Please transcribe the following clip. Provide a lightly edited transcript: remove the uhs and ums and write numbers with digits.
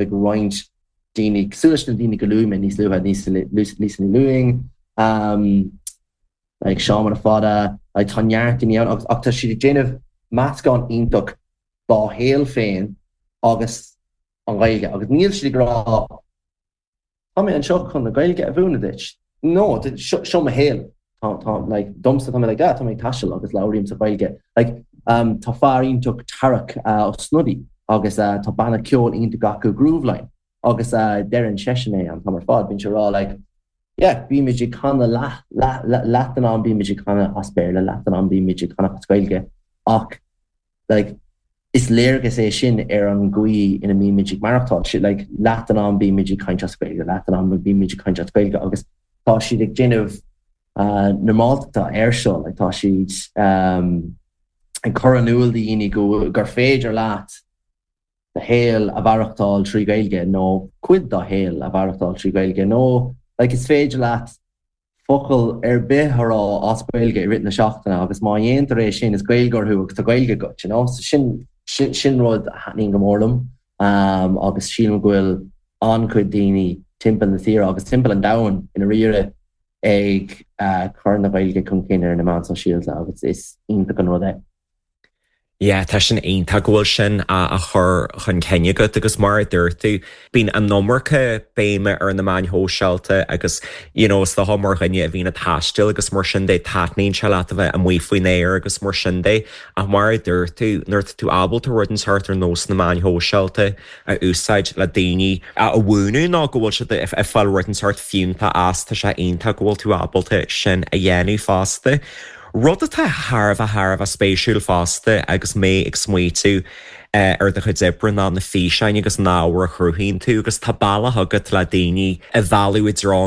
ag roinnt daoine cosúil leis na daoine go luaigh mé níos luaithe, Lisa Ní Lúing, like Seán Mona Fada, like tá neart daoine ann agus ach tá siad ag déanamh meascán iontach dá shaol féin agus an Ghaeilge agus níl siad ag rá Tá mé anseo chun na Gaeilge a mhúineadh duit. No, seo seo mo shaol. Tá tá like domsa tá mé like ah tá mé ag taisteal agus labhraím sa Ghaeilge. Like um tá fear iontach Tarach uh, Ó Snodaigh agus uh, tá banna ceoil iontach acu Grooveline agus uh, deireann seisean é an t-am ar fad bíonn sé ag rá like yeah bímid ag canadh leath leath leath den am bímid ag canadh as Béarla leath den am bímid ag canadh as Gaeilge ach like is léargas é sin ar an gcaoi ina mbímid ag maireachtáil. Like leath den am bímid ag caint as Gaeilge, leath den am bímid ag caint as Gaeilge agus tá siad ag déanamh uh, normáltachta air seo, like tá siad um, ag cur in iúl do dhaoine go gur féidir leat do shaol a mhaireachtáil trí Ghaeilge nó cuid do shaol a mhaireachtáil trí Ghaeilge nó like is féidir leat focal ar bith a rá as Gaeilge i rith na seachtaine agus má dhéantar é sin is Gaeilgeoir thú agus tá Gaeilge agat, you know? So sin, sin, sin rud a thaitníonn go mór liom um, agus sílim go bhfuil an-chuid daoine timpeall na tíre agus timpeall an domhain i ndáiríre ag uh, cur na Gaeilge chun cinn ar na meáin sóisialta agus is iontach an rud é. Yeah, tá sin iontach go bhfuil sin á chur chun cinn agat agus mar a dúirt tú, bíonn an iomarca béime ar na meáin shóisialta agus you know is dócha mar dhuine a bhíonn ag taisteal agus mar sin de, taitníonn sé leat a bheith amuigh faoin aer agus mar sin de ach mar a dúirt tú, nuair atá tú ábalta rud inteacht ar nós na meáin shóisialta a úsáid le daoine a mhúineadh nó go bhfuil siad ag fáil rud inteacht fiúntach as, tá sé iontach go bhfuil tú ábalta sin a dhéanamh fosta. Rud atá thar a bheith thar a bheith spéisiúil fosta agus mé ag smaoitiú ar do chuid oibre ná na físeáin agus an ábhar a chruthaíonn tú agus tá bealach agat le daoine a mhealladh i dtreo.